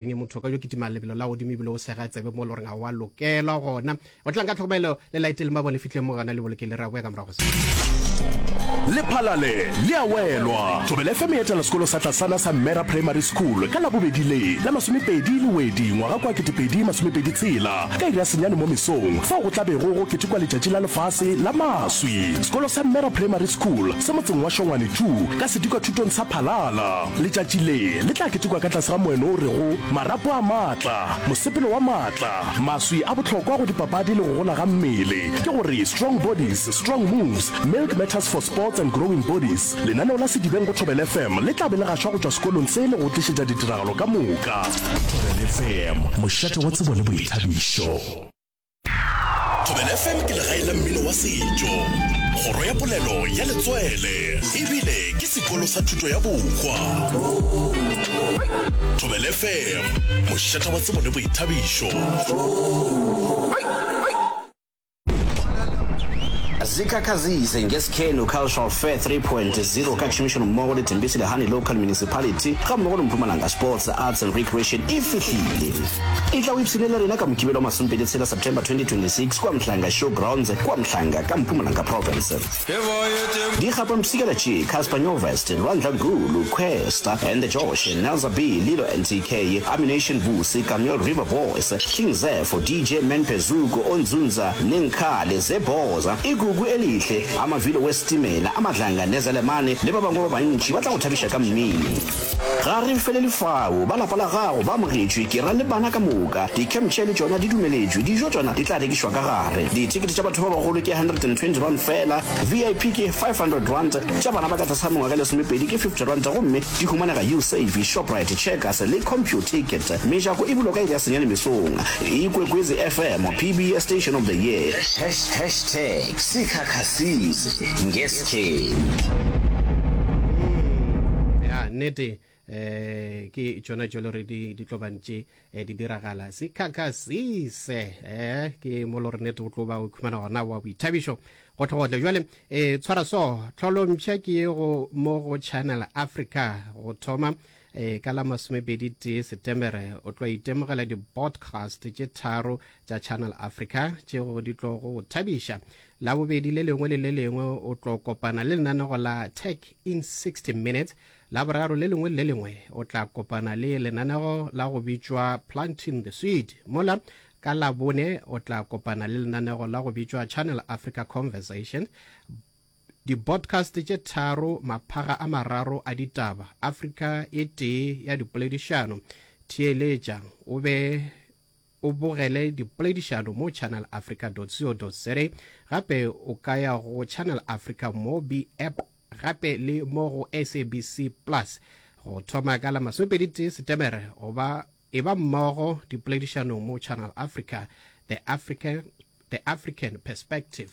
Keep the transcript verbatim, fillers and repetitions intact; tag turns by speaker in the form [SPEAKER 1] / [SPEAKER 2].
[SPEAKER 1] Motho o ka yo kitima lebelo la godimo ebile o sega tsebe mo e le goreng ga wa lokelwa gona. O tlang ka tlhokomelo le laete le mabone fihleng mo gona le bolokele ra boya ka morago se.
[SPEAKER 2] Lephalale le a welwa! Thobela F M e etela sekolo sa tlasana sa Mmera Primary School ka Labobedi le la masomepedi Lewedi ngwaga kwa ketepedi masomepedi tshela ka iri ya senyane mo mesong fao go tla bego go ketekwa letšatši la lefase la maswi. Sekolo sa Mmera Primary School se motseng wa Shongwane two ka sedikwathutong sa Phalala. Letšatši le le tla ketekwa ka tlase ga moeno o rego Marapo a maatla, mosepelo wa maatla, maswi a bohlokwa go dipapadi le go gola ga mmele, ke gore Strong Bodies, Strong Moves, Milk Matters for Sports and Growing Bodies. Lenaneo la Sedibeng go Thobela F M le tla be le gašwa go tšwa sekolong se le go tlišetša ditiragalo ka moka. Thobela F M, mošate wa tsebo le boithabišo. Thobela F M ke legae la mmino wa setšo, kgoro ya polelo ya letswele, ebile ke sekolo sa thuto ya bohwa. Thobela F M, mošate wa tsebo le boithabišo.
[SPEAKER 3] Zikhakhazise ngesikhenu Cultural Fair three point zero ka tšhomišanommogo le Tembisa Lehane Local Municipality gammogo le Mpumalanga Sports, Arts and Recreation e fihlile. E tla o ipshine le rena ka Mokibelo wa masomepedi tshela September twenty twenty-six kua Mhlanga Show Grounds kua Mhlanga ka Mpumalanga Province. Dikgapampshikela tše, Cassper Nyovest, Lwandla Gulu, Kwesta and the Josh, Nelza B, Lilo N T K, Ammunition Vusi, Kameel River Boys, King Zefo, D J Man Phezuku, Onzunza, Nenkhale, Zebhoza, Igugu Elihle, Amavilo Wesitimela, Amadlanga Nezelemane le ba bangwe ba bantši ba tla go thabiša ka mmino. Ga re felele fao, ba lapa la gago ba amogetšwe, ke ra le bana ka moka. Di-camp chair le tšona di dumeletšwe, dijo tšona di tla rekišwa ka gare. Dithekete tša batho ba bagolo ke hundred and twenty rand fela, V I P ke five hundred rand, tša bana ba ka tlase ga mengwaga e lesomepedi ke fifty rand gomme di humanega Usave, Shoprite, Checkers le Computicket. Mejako e bulwa ka iri ya senyane mesong. Ikwekwezi F M, P B S Station of the Year.
[SPEAKER 4] Hashtag Sikhakhasise ngeSkheni.
[SPEAKER 1] Mm, ya nnete eh ke tšona tšo le gore di di tlo bantše eh, di diragala sikhakhasise eh ke mo le gore nnete o tlo ba o khumana gona wa boithabišo gotlhegotlhe jwale eh tshwara so tlholompšha ke ye go mo go Channel Africa go thoma eh ka la masomepedi tee Setemere o tlo itemogela di-podcast tše tharo tša Channel Africa tšeo di tlo go thabiša. La bobedi le lengwe le le lengwe o tlo kopana le lenanego la Tech in sixty Minutes. La boraro le lengwe le le lengwe o tla kopana le lenanego la go bitšwa Planting the Seed. Mola ka Labone o tla kopana le lenanego la go bitšwa Channel Africa Conversation. Di-podcast tše tharo, maphaga a mararo a ditaba, Afrika e tee ya dipoledišano. Theeletša o be o bogele dipoledišano mo channel africa dot co dot za. Gape o ka ya go Channel Africa Mobi app gape le mo go S A B C Plus. Go thoma ka la masomepedi tee Setemere go ba e ba mmogo dipoledišanong mo Channel Africa, The African, The African Perspective.